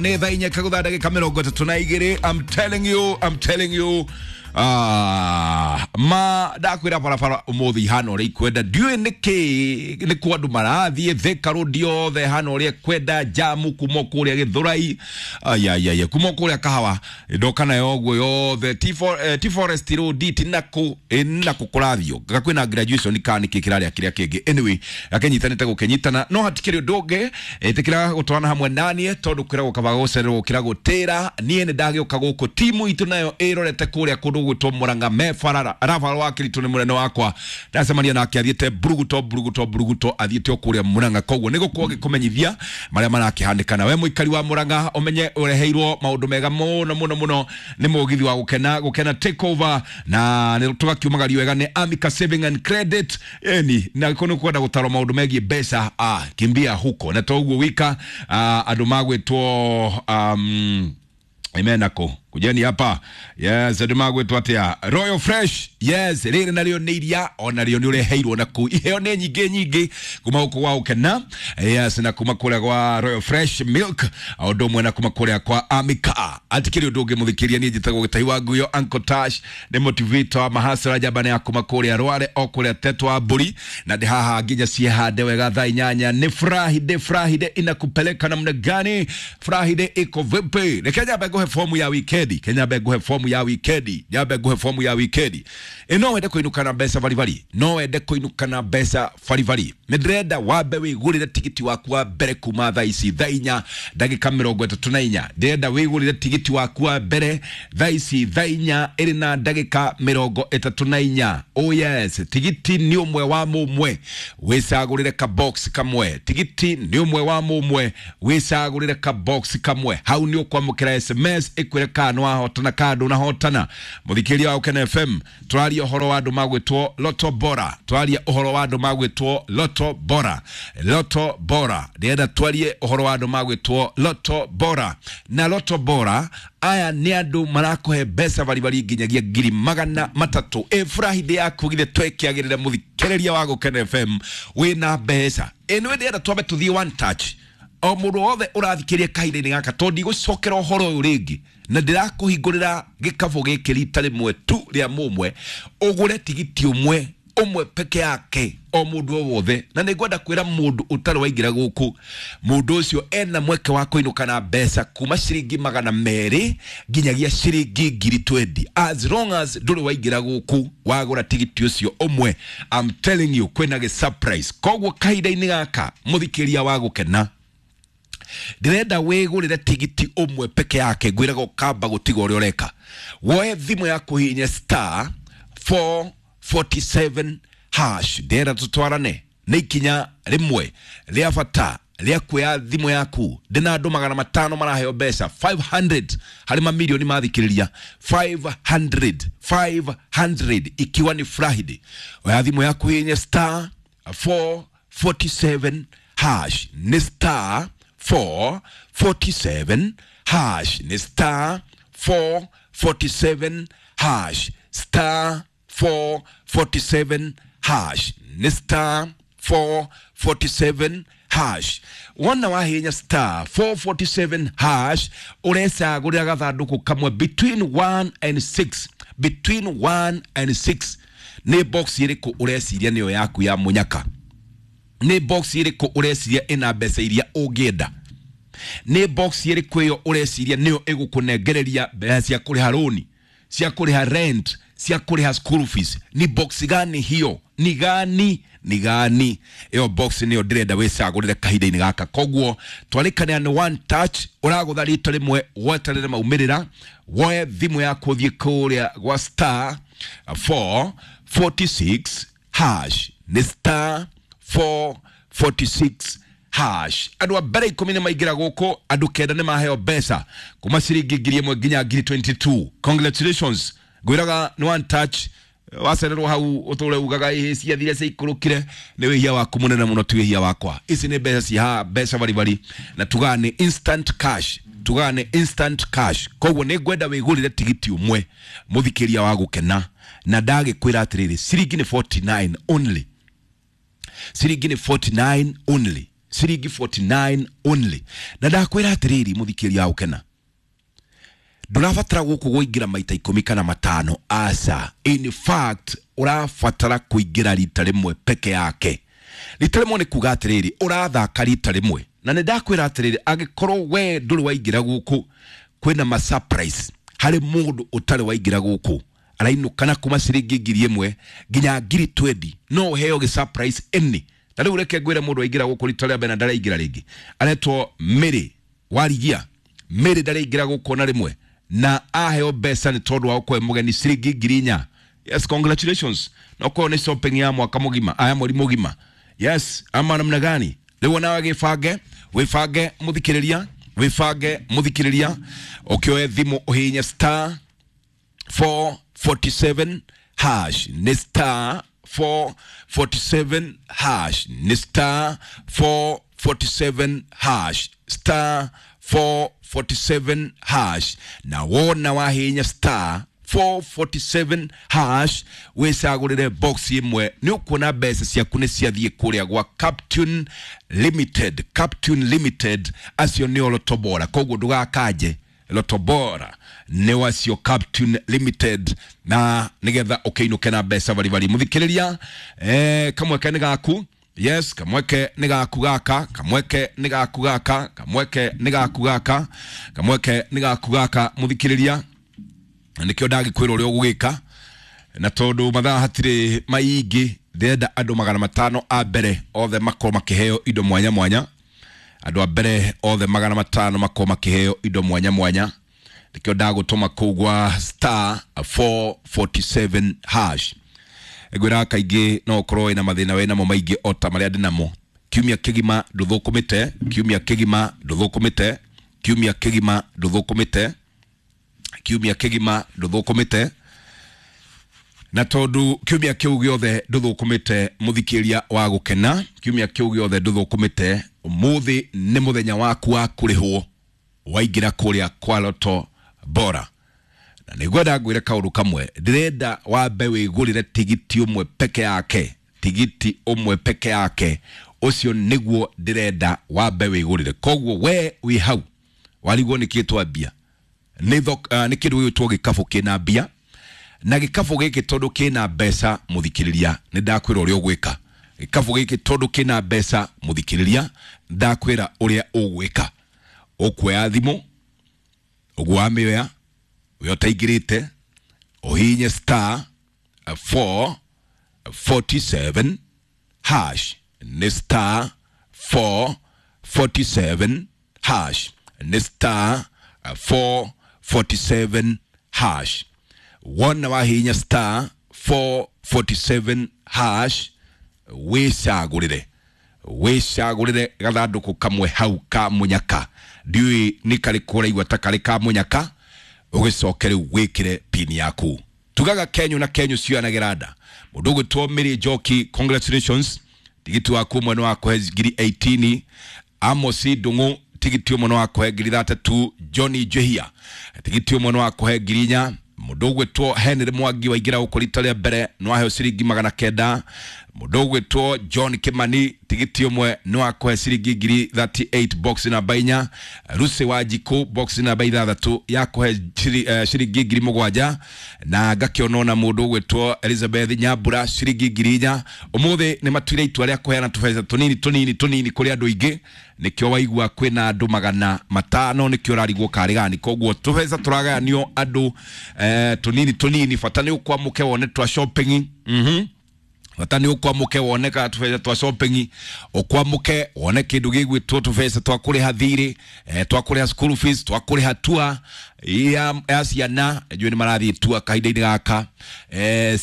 Nĩ thaa inya kagũtha ndagĩka 32. I'm telling you, I'm telling you. Ma ndakwĩra barabara ũmũthĩ ihana ũrĩa ikwenda, ndiũĩ nĩkĩ nĩ kũ andũ marathiĩ Thika Road yothe hana ũrĩa kwenda jamu kuma kũrĩa Gĩthũrai, ayayaya, kuma kũrĩa Kahawa ndoka nayo ũguo yothe T Forest Road tinakũ nakũ kũrathiũ nga kwĩna graduation kana nĩkĩ kĩrarĩa kĩrĩa kĩngĩ. Anyway, gakĩnyitanĩte gũkĩnyitana, no hatikĩrĩ ũndũ ũngĩ. Ĩtĩkĩra gũtwarana hamwe naniĩ tondũ kwĩragwo kaba gũcererwo gũkĩra gũtĩra. Niĩ nĩ ndagĩũka gũkũ, timu itũ nayo ĩrorete kũrĩa kũndũ gwĩtwo Mũrang'a me barara arabara wa kĩritũ nĩ mũnene wakwa ndacemania nake athiĩte buruguto buruguto buruguto, athiĩte o kũrĩa Mũrang'a. Koguo nĩ gũkorwo gĩkũmenyithia marĩa marakĩhanĩkana. We mũikari wa Mũrang'a, ũmenye ũreheirwo maũndũ mega mũno mũno mũno nĩ mũgithi wa gũkena gũkena take over, na nĩ tũgakiumagario wega nĩ Amica Saving and Credit. Eni na kå nä kwenda gũtarwo maũndũ megiĩ mbeca, kimbia huko. Na toguo wika andũ magwĩtwo imenako kujeni hapa, yes, andũ magwĩtwo atĩa, Royal Fresh, yes, rĩrĩ narĩo nĩ iria ona rĩo nĩ ũreheirwo na kũu. Iheo nĩ nyingĩ nyingĩ kuma gũkũ gwa ũkena, yes, na kuma kũrĩa gwa Royal Fresh Milk, o ũndũ ũmwe na kuma kũrĩa kwa Amica. Atikĩrĩ ũndũ ũngĩ mũthikĩria, niĩ njĩtagwo Gĩtahi wa Nguyo, Uncle Tash, nĩ motivator wa mahasara njamba nĩ ya kuma kũrĩa Rware o kũrĩa Tetwa wa Mbũri, na ndĩ haha nginya ciehande wega thaa 8. Nĩ Friday, Friday inakupeleka namna gani? Friday iko vipi? Reke nyambe nguhe fomu ya wikendi, ke nyambe nguhe fomu ya wikendi, nyambe nguhe fomu ya wikendi. Ĩ no wende kũinũka na mbeca baribari? No wende kũinũka na mbeca baribari? Nĩ ndĩrenda wambe wĩgũrĩre tigiti waku wa mbere kuma thaa ici thaa 4:34. Ndĩrenda wĩgũrĩre tigiti waku wa mbere thaa ici thaa 4:34. Oh yes, tigiti nĩ ũmwe wa mũmwe, wĩcagũrĩre ka box kamwe. Tigiti nĩ ũmwe wa mũmwe, wĩcagũrĩre ka box kamwe. Hau nĩ ũkwamũkĩra SMS ĩkwĩre kana nĩ wahotana kana ndũnahotana. Mũthikĩria wa Ũkena FM, tũraria ũhoro wa andũ magwĩtwo Loto Bora, tũraria ũhoro wa andũ magwĩtwo Loto Bora, Loto Bora. Ndĩrenda twarie ũhoro wa andũ magwĩtwo Loto Bora, na Loto Bora aya nĩ andũ marakũhe mbeca baribari nginyagia 300,000. Ĩ Friday yaku githĩ twekĩagĩrĩre? Mũthikĩrĩria wa Gũkena FM, wĩna mbeca ĩ nĩ ndĩrenda twambe tũthiĩ one touch, o mũndũ wothe ũrathikĩria kahinda-inĩ gaka, tondũ ndigũcokera ũhoro ũyũ rĩngĩ, na ndĩrakũhingũrĩra gĩkabũ gĩkĩ rita rĩmwe tu rĩa mũmwe, ũgũre tigiti ũmwe ũmwe peke yake, o mũndũ o wothe. Na nĩ ngwenda kwĩra mũndũ ũtarĩ waingĩra gũkũ, mũndũ ũcio ena mweke wa kũinũka na mbeca kuma ciringi 200 nginyagia ciringi 20,000, as long as ndũrĩ waingĩra gũkũ wagũra tigiti ũcio ũmwe. I'm telling you, kwĩna gĩ surprise. Koguo kahinda-inĩ gaka, mũthikĩria wa gũkena, ndĩrenda wĩgũrĩre tigiti ũmwe peke yake. Ngwĩraga ũkamba gũtiga ũrĩa ũreka, woe thimũ yaku, hihinye *447#. Ndĩrenda tũtwarane nĩ ikinya rĩmwe rĩa bata rĩa kuoya thimũ yaku. Ndĩna andũ 500 maraheo mbeca, 500 harĩ mamirioni mathikĩrĩria, 500, 500, ikiwa ni Friday. Oya thimũ yaku, hihinye *447#, nĩ *447#, nĩ *447#, *447#, nĩ *447#. Wona wahihinya *447# ũrecagũrĩra gathandũkũ kamwe between 1 and 6, between 1 and 6. Nĩ box ĩrĩkũ ũreciria nĩyo yaku ya mũnyaka? Nĩ box ĩrĩkũ ũreciria ĩna mbeca iria ũngĩenda? Nĩ box ĩrĩkũ ĩyo ũreciria nĩyo ĩgũkũnengereria mbeca cia kũrĩha rũni, cia kũrĩha rent, cia kũrĩha school fees? Ni box gani hiyo? Ni gani, ni gani ĩyo box? Nĩyo ndĩrenda wĩcagũrĩre kahinda-inĩ gaka. Koguo twarĩkanĩra nĩ one touch, ũragũtha rita rĩmwe, weterere maumĩrĩra. Woe thimũ yaku, ũthiĩ kũrĩa gwa *446#, nĩ *446#. Andũ a mbere 10 nĩ maingĩra gũkũ, andũ 9 nĩ maheo mbeca kuma ciringi 1,000 nginya 22,000. Congratulations. Ngwĩraga nĩ one touch. Wacererwo hau ũtũre ugaga ĩ ciathire ciikũrũkire, nĩ wĩhia waku mũnene mũno, ti wĩhia wakwa. Ici nĩ mbeca cihaha, mbeca baribari, na tugaga nĩ instant cash, tugaga nĩ instant cash. Koguo nĩ ngwenda wĩgũrĩre tigiti ũmwe, mũthikĩria wa gũkena, na ndagĩkwĩra atĩrĩrĩ, ciringi nĩ 49 only, ciringi nĩ 49 only. Ciringi 49 only. Na ndakwĩra atĩrĩrĩ, mũthikĩria wa gũkena, ndũrabatara gũkũ kũingĩra maita 10 kana 5, aca. In fact, ũrabatara kũingĩra rita rĩmwe peke yake. Rita rĩmwe nĩ kuga atĩrĩrĩ, ũrathaka rita rĩmwe. Na nĩ ndakwĩra atĩrĩrĩ, angĩkorwo we ndũrĩ waingĩra gũkũ, kwĩna ma surprise harĩ mũndũ ũtarĩ waingĩra gũkũ arainũka na kuma ciringi 1,000 nginya 20,000, no ũheo gĩ surprise any. Ta rĩu reke ngwĩre mũndũ waingĩra gũkũ rita rĩa mbere na ndaraingĩra rĩngĩ, aretwo Mary Warigia. Mary ndaraingĩra gũkũ na rĩmwe na aheo mbeca nĩ tondũ wa gũkorwo mũgeni ciringi 4,000. Yes, congratulations. Na ũkorwo nĩ shopping ya mwaka mũgima, aya mweri mũgima. Yes, ama namna gani? Rĩu nawe gĩbange, wĩbange mũthikĩrĩria, wĩbange mũthikĩrĩria, ũkĩoe thimũ ũhihinye star 447 hash, nĩ star 447 hash, nĩ star 447 hash, star 447 hash. Na wona wahihinya star 447 hash wĩcagũrĩre box ĩmwe, nĩ ũkuona mbeca ciaku nĩ ciathiĩ kũrĩa gwa Captune Limited. Captune Limited acio nĩo Lotto Bora, koguo ndũgakanje Lotto Bora nĩ wacio Captune Limited, na nĩgetha ũkĩinũke na mbeca baribari. Mũthikĩrĩria, kamweke nĩ gaku. Yes, kamweke nĩ gaku gaka, kamweke nĩ gaku gaka, kamweke nĩ gaku gaka, kamweke nĩ gaku gaka, mũthikĩrĩria. Na nĩkĩo ndagĩkwĩra ũrĩa ũgũgĩka, na tondũ mathaa hatirĩ maingĩ, ndĩrenda andũ 500 a mbere othe makorwo makĩheo indo mwanya mwanya. Andũ a mbere othe 500 makorwo makĩheo indo mwanya mwanya. Nĩkĩo ndagũtũma kũu gwa star 447 hash. Ngwĩraga kaingĩ no ũkorwo wĩna mathĩna wĩ namo maingĩ o ta marĩa ndĩ namo. Kiumia kĩgima ndũthũkũmĩte, kiumia kĩgima ndũthũkũmĩte, kiumia kĩgima ndũthũkũmĩte, kiumia kĩgima ndũthũkũmĩte. Na tondũ kiumia kĩu gĩothe ndũthũkũmĩte, mũthikĩria wa gũkena, kiumia kĩu gĩothe ndũthũkũmĩte, ũmũthĩ nĩ mũthenya waku wa kũrĩhwo waingĩra kũrĩa kwa Lotto Bora. Na nĩngwenda ngwĩre kaũndũ kamwe, ndĩrenda wambe wĩgũrĩre tigiti ũmwe peke yake, tigiti ũmwe peke yake, ũcio nĩguo ndĩrenda wambe wĩgũrĩre. Koguo we wĩ hau warigwo nĩkĩ twambia, nĩ kĩndũ gĩgwĩtwo gĩkabũ kĩna mbia, na gĩkabũ gĩkĩ tondũ kĩna mbeca, mũthikĩrĩria, nĩ ndakwĩra ũrĩa ũgwĩka. Gĩkabũ gĩkĩ tondũ kĩna mbeca, mũthikĩrĩria, ndakwĩra ũrĩa ũgwĩka. Ũkuoya thimũ, ũguo wamĩoya, we ũtaingĩrĩte, ũhihinye star 447 hash, nĩ star 447 hash, nĩ star 447 hash. Wona wahihinya star 447 hash, wĩcagũrĩre, wĩcagũrĩre gathandũkũ kamwe hau ka mũnyaka. Ndiũĩ nĩ karĩkũ ũraigua ta karĩ ka mũnyaka, ũgĩcoke rĩu wĩkĩre pin yaku. Tugaga kenyu na kenyu cioyanagĩra nda. Mũndũ ũgwĩtwo Mary Njoki, congratulations, tigiti waku ũmwe nĩ wakũhe 18,000. Amos Ndung'u, tigiti ũmwe nĩ wakũhe 3,000. Johnny Njihia, tigiti ũmwe nĩ wakũhe 4,000. Mũndũ ũgwĩtwo Henry Mwangi waingĩra gũkũ rita rĩa mbere nĩ waheo ciringi 900. Mũndũ ũgwĩtwo John Kimani, tigiti ũmwe nĩ wakũhe ciringi 38,000, box namba 4. Lucy Wanjikũ, box namba 6 yakũhe ciringi 7,000. Na ngakĩona ona mũndũ ũgwĩtwo Elizabeth Nyambura ciringi 4,000. Ũmũthĩ nĩ matuire itua rĩa kũheana tũbeca tũnini tũnini tũnini kũrĩ andũ aingĩ, nĩkĩo waigua kwĩna andũ 500, nĩkĩo ũrarigwo karĩ gani. Koguo tũbeca tũragayanio andũ tũnini tũnini, bata nĩ ũkwamũke wone twa shopping. Bata nĩ ũkwamũke wone ka tũbeca twa shopping, ũkwamũke wone kĩndũ gĩgwĩtwo tũbeca twa kũrĩha thirĩ, twa kũrĩha school fees, twa kũrĩha tua ya ciana, njũĩ nĩ marathiĩ tua kahinda-inĩ gaka,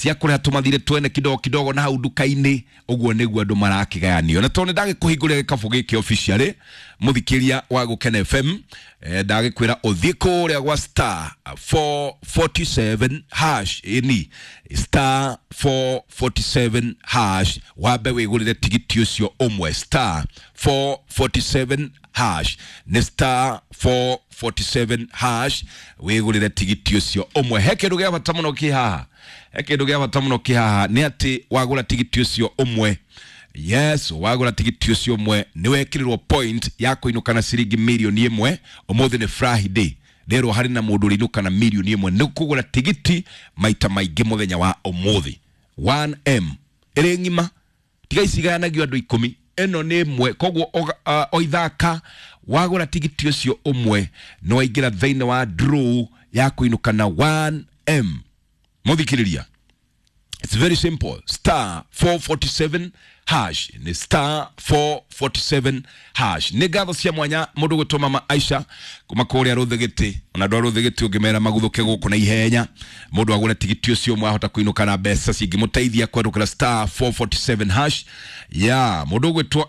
cia kũrĩha tũmathirĩ twene kidogo kidogo na hau nduka-inĩ. Ũguo nĩguo andũ marakĩgayanio. Na tondũ nĩ ndagĩkũhingũrĩra gĩkabũ gĩkĩ officially, mũthikĩria wa Gũkena FM, ndagĩkwĩra ũthiĩ kũrĩa gwa star 447 hash, ĩni star 447 hash, wambe wĩgũrĩre tigiti ũcio ũmwe, star 447 hash, nĩ star 447 hash, wĩgũrĩre tigiti ũcio ũmwe. He kĩndũ gĩa bata mũno kĩ haha, he kĩndũ gĩa bata mũno kĩ haha, nĩ atĩ wagũra tigiti ũcio ũmwe, Yes, wagũra tigiti ũcio ũmwe nĩ wekĩrĩrwo point ya kũinũka na ciringi 1 million. Ũmũthĩ nĩ Friday, rĩrwo harĩ na mũndũ ũrĩinũka na 1 million nĩ kũgũra tigiti maita maingĩ mũthenya wa ũmũthĩ. 1M ĩrĩ ng'ima, tiga icigayanagio andũ 10, ĩno nĩ ĩmwe. Koguo o ithaka wagũra tigiti ũcio ũmwe nĩ waingĩra thĩinĩ wa draw ya kũinũka na 1M. Mũthikĩrĩria, it's very simple: star 447 hash, ni star 447 hash. Nĩ ngatho cia mwanya mũndũ gwĩtwo Mama Aisha kuma kũrĩa Rũthĩgĩtĩ. Ona andũ a Rũthĩgĩtĩ ũngĩmera maguthũke gũkũ na ihenya, mũndũ agũre tigiti ũcio ũmwe ahota kũinũka na mbeca cingĩmũteithia kwerũkĩra star 447 hash ya mũndũ ũgwĩtwo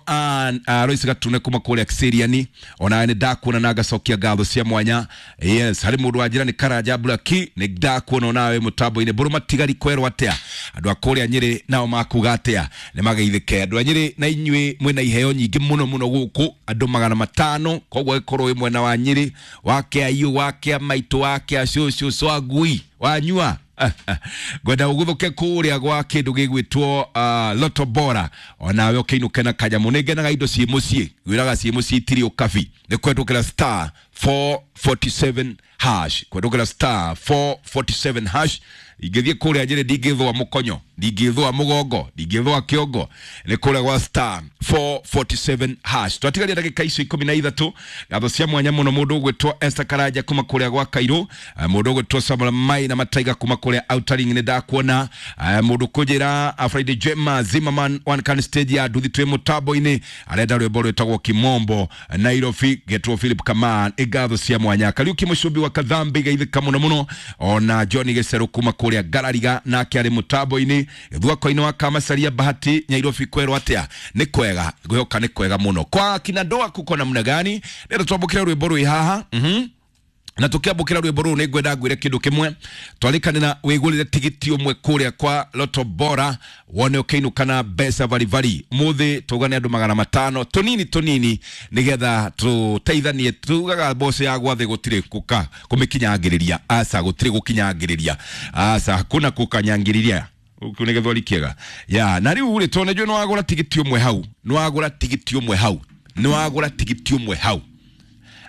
Royce Gatune kuma kũrĩa Kiseriani. Ona nĩ ndakuona na ngacokia ngatho cia mwanya. Yes, harĩ mũndũ wanjĩra nĩ Karanja Blaki, nĩ ndakuona onawe mũtambo-inĩ. Mbũrũ matigari kwerwo atĩa? Andũ a kũrĩa Nyĩrĩ nao makuga atĩa? Nĩ mageithĩke andũ a Nyĩrĩ na inyuĩ mwĩna iheo nyingĩ mũno mũno gũkũ, andũ 500. Koguo ĩkorwo wĩ mwena wa Nyĩrĩ, wa kĩaiũ, wa kĩa maitũ, wa kĩa cũcũ swagui wanyua, ngwenda ũgũthũke kũrĩa gwa kĩndũ gĩgwĩtwo Loto Bora, onawe ũkĩinũke na kanyamũ. Nĩ ngenaga indo ciĩ mũciĩ, gwĩraga ciĩ mũciĩ itirĩ ũkabi. Nĩ kwendũkĩra star 447 hash, kwendũkĩra star 447 hash. Ingĩthiĩ kũrĩa Nyĩrĩ ndingĩthũa mũkonyo, ndingĩthũa mũgongo, ndingĩthũa kĩongo. Nĩ kũrĩa gwa star 447 hash. Twatigaria ndagĩka icio 13. Ngatho cia mwanya mũno mũndũ ũgwĩtwo Esther Karanja kuma kũrĩa gwa Kairũ, mũndũ ũgwĩtwo Samuel Mai na Mataiga kuma kũrĩa Outering, nĩ ndakuona. Mũndũ kũnjĩra Friday Jema Zimmerman one can stage ya nduthi twĩ mũtambo-inĩ, arenda rwĩmbo rwĩtagwo Kimombo Nairobi, getwo Philip Kaman. Ngatho cia mwanya Kariuki Mũcumbi wa Kathambi, geithĩka mũno mũno. Ona John Gĩcerũ kuma kũrĩa Ngarariga nake arĩ mũtambo-inĩ. Gĩthwako-inĩ wa Kamacaria Bahati Nyairobi kwerwo atĩa? Nĩ kwega, ngwĩhoka nĩ kwega mũno. Kwa kina ndoa kuko namna gani? Rĩrĩa twambũkĩra rwĩmbo rwĩ haha, na tukiambukira rwimbo rũrũ nĩ ngwenda ngwĩre kĩndũ kĩmwe. Twarĩkanĩra wĩgũrĩre tigiti ũmwe kũrĩa kwa Loto Bora wone ũkĩinũka na mbeca baribari. Mũthĩ tũgane andũ 500 tũnini tũnini nĩgetha tũteithanie. Tugaga mboco ya gwathĩ gũtirĩ gũka kũmĩkinyangĩrĩria, aca gũtirĩ gũkinyangĩrĩria, aca hakuna kũkanyangĩrĩria. Kĩu nĩ gĩthweri kĩega ya. Na rĩu rĩ, tondũ nĩ wagũra tigiti ũmwe hau, nĩ wagũra tigiti ũmwe hau, nĩ wagũra tigiti ũmwe hau,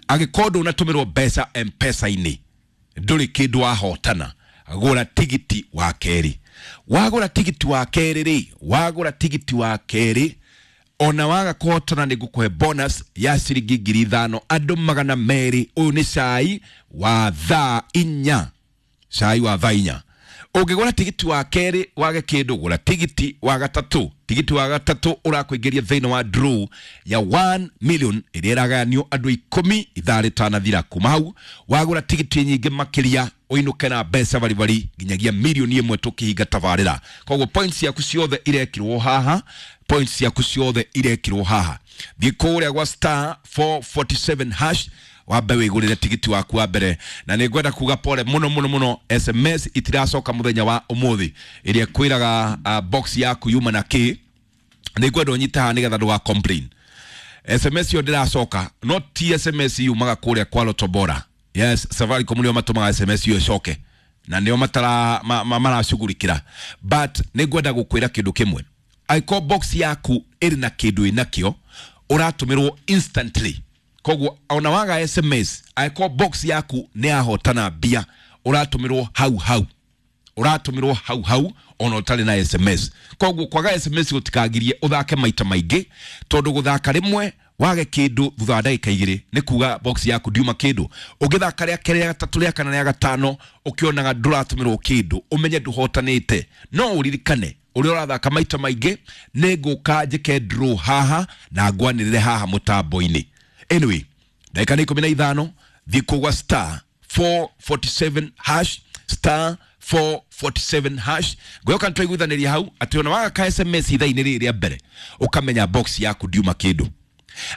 angĩkorwo ndũnatũmĩrwo mbeca M-Pesa-inĩ, ndũrĩ kĩndũ wahotana. Gũra tigiti wa kerĩ. Wagũra tigiti wa kerĩ rĩ, wagũra tigiti wa kerĩ, ona waga kũhotana nĩ ngũkũhe bonus ya ciringi 5,000, andũ 200. Ũyũ nĩ cai wa thaa 4, cai wa thaa 4. Ũngĩgũra tigiti wa kerĩ wage kĩndũ, gũra tigiti wa gatatũ. Tigiti wa gatatũ ũrakũingĩria thĩinĩ wa draw ya 1 million ĩrĩa ĩragayanio andũ 10 ithaa rĩtanathira. Kuma hau wagũra tigiti nyingĩ makĩria ũinũke na mbeca baribari nginyagia 1 million tũkĩhinga tabarĩra. Koguo points ciaku ciothe irekĩrwo haha, points ciaku ciothe irekĩrwo haha. Thiĩ kũrĩa gwa star 447 hash wambe wĩgũrĩre tigiti waku wa mbere. Na nĩ ngwenda kuga pole mũno mũno mũno, SMS itiracoka mũthenya wa ũmũthĩ ĩrĩa kwĩraga box yaku yuma na kĩ. Nĩ ngwenda ũnyite haha nĩgetha ndũga complain. SMS yo ndĩracoka, no ti SMS yumaga kũrĩa kwa Loto Bora. Yes, Safaricom nĩo matũmaga SMS iyo ĩcoke na nĩo matara maracugurikĩra. But nĩ ngwenda gũkwĩra kĩndũ kĩmwe: angĩkorwo box yaku ĩrĩ na kĩndũ ĩnakĩo, ũratũmĩrwo instantly. Koguo ona waga SMS, angĩkorwo box yaku nĩ yahotana mbia, ũratũmĩrwo hau hau, ũratũmĩrwo hau hau ona ũtarĩ na SMS. Koguo kwaga SMS gũtikagirie ũthake maita maingĩ, tondũ gũthaka rĩmwe wage kĩndũ thutha wa ndagĩka 2 nĩ kuga box yaku ndiuma kĩndũ. Ũngĩthaka rĩa kerĩ, rĩa gatatũ, rĩa kana, rĩa gatano, ũkĩonaga ndũratũmĩrwo kĩndũ, ũmenye ndũhotanĩte. No ũririkane ũrĩa ũrathaka maita maingĩ, nĩ ngũka njĩke draw haha na ngwanĩrĩre haha mũtambo-inĩ. Anyway, ndagĩka nĩ 15. Thiĩ kũgwa star 447 hash, star 447 hash. Ngwĩhoka nĩtwaiguithanĩria hau atĩ ona waga ka SMS ithaa-inĩ rĩrĩ rĩa mbere, ũkamenya box yaku ndiuma kĩndũ.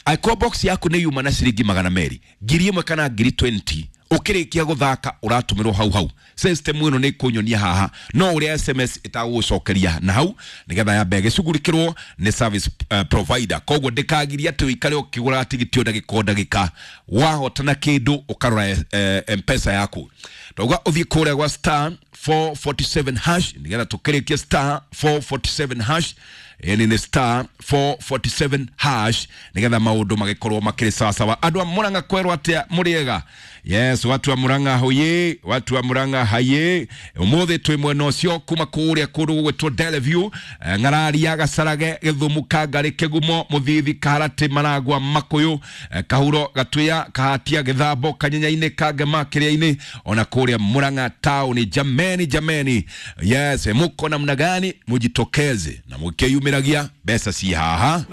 Angĩkorwo box yaku nĩ yuma na ciringi 200, 1,000 kana 20,000, ũkĩrĩkia gũthaka ũratũmĩrwo hau hau. System ĩno nĩ kũnyonia haha no ũrĩa SMS ĩtagũgũcokeria na hau nĩgetha yambe ĩgĩcugurikĩrwo nĩ service provider. Koguo ndĩkagirie atĩ ũikare ũkĩgũraga tigiti o ndagĩka o ndagĩka. Wahotana kĩndũ ũkarora M-Pesa yaku. Ndauga ũthiĩ kũrĩa gwa star 447 hash nĩgetha tũkĩrĩkie star 447 hash. Ĩni nĩ star 447 hash nigetha maundu magikorwo makiri sawasawa. Andu a Murang'a kwerwo atia muriega? Yes, watu wa Murang'a hoye, watu wa Murang'a haye. Umuthi twi mwena ucio kuma kuria kundu gugwitwo Delview, Ng'araria, Gacarage, Githumu, Kangari, Kigumo, Muthithi, Karati, Maragwa, Makuyu, Kahuro, Gatuya, Kahatia, Githambo, Kanyenya-ini, Kangema, Kiria-ini, ona kuria Murang'a town. Jameni, jameni, yes, muko namna gani? Mujitokeze na mukiyumiragia, mbeca ci haha.